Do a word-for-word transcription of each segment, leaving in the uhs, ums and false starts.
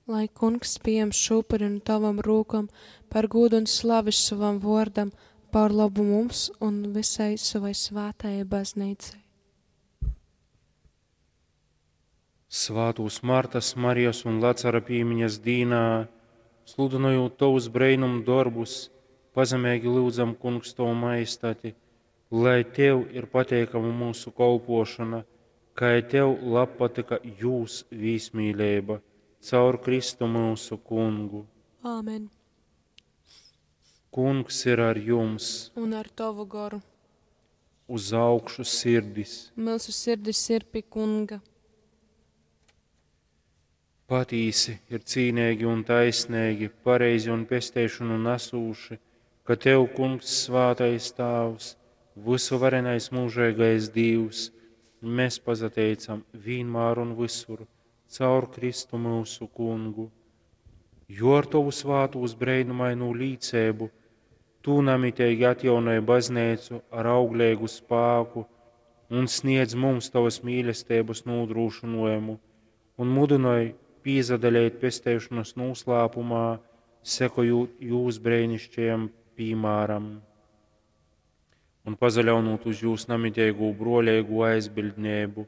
Lai Kungs pījam šū upuri nu tavam rūkom par gūdu un slavi sovam vōrdam, par labu mums un visai savai svātajai baznīcai. Svātūs Martas, Marijas un Lacara pīmiņas dīnā, sludynojūt tovus breinumu dorbus, pazemeigi lyudzam, Kungs, tovu majestati, lai tev ir pateikama mūsu kolpošana, kai tev labpatyka jūs vīsmīleiba, caur Kristu mūsu Kungu. Āmen. Kungs ir ar jums, Un ar tavu goru. uz augšu sirdis. Mūsu sirdis ir pie Kunga. Patīsi ir cīnīgi un taisnīgi, pareizi un pesteišanu nesūši, ka tev, Kungs, svātais Tāvs, visuvarenais mūžīgais Dievs, mēs pazateicam vienmēr un visur, caur Kristu mūsu Kungu. Jo ar tovu svātūs breinumainū līcēbu tu namitīgi atjaunoji baznīcu ar auglīgu spāku un sniedz mums tavas mīlestības nodrošinājumu un mudināji pīzadalēt pesteišanas noslēpumā, sekojot jūs brēnišķajam piemēram un pazaļaunot uz jūs namitīgo broļīgo aizbildnību.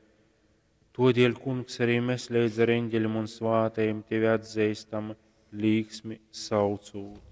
Todēļ, Kungs, arī mēs līdz ar eņģeļiem un svātajiem tevi atzīstam, līksmi saucot.